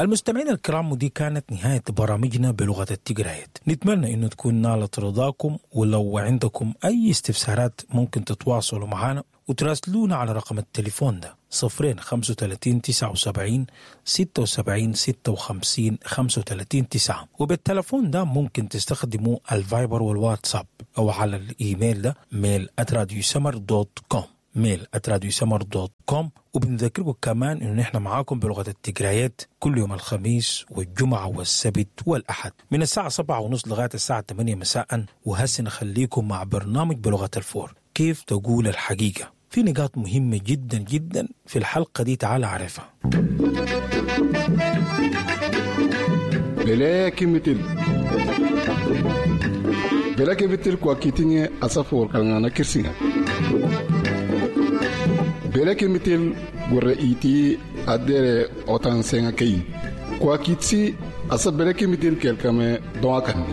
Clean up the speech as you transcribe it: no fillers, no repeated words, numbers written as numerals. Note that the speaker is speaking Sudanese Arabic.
المستمعين الكرام، ودي كانت نهاية برامجنا بلغة التجرايت. نتمنى انه تكون نالت رضاكم، ولو عندكم اي استفسارات ممكن تتواصلوا معنا وتراسلونا على رقم التليفون ده: 0 35 79 76 56 35 9. وبالتلفون ده ممكن تستخدموا الفايبر والواتساب، او على الايميل ده mail@radiosmr.com، mail@radiosmr.com. وبنذكركم كمان انه نحن معاكم بلغة التجرايات كل يوم الخميس والجمعة والسبت والأحد من الساعة 7:30 لغاية الساعة 8 مساء. وهسه نخليكم مع برنامج بلغة الفور، كيف تقول الحقيقة. في نقاط مهمة جدا جدا في الحلقة دي، تعال عرفها. Bele kimitil bele kimitil kwa kitinye asafo kalngana kirsinga bele kimitil gurre iti adere otan senga kei kwa kitsi asa bele kimitil kelkame doa kandi.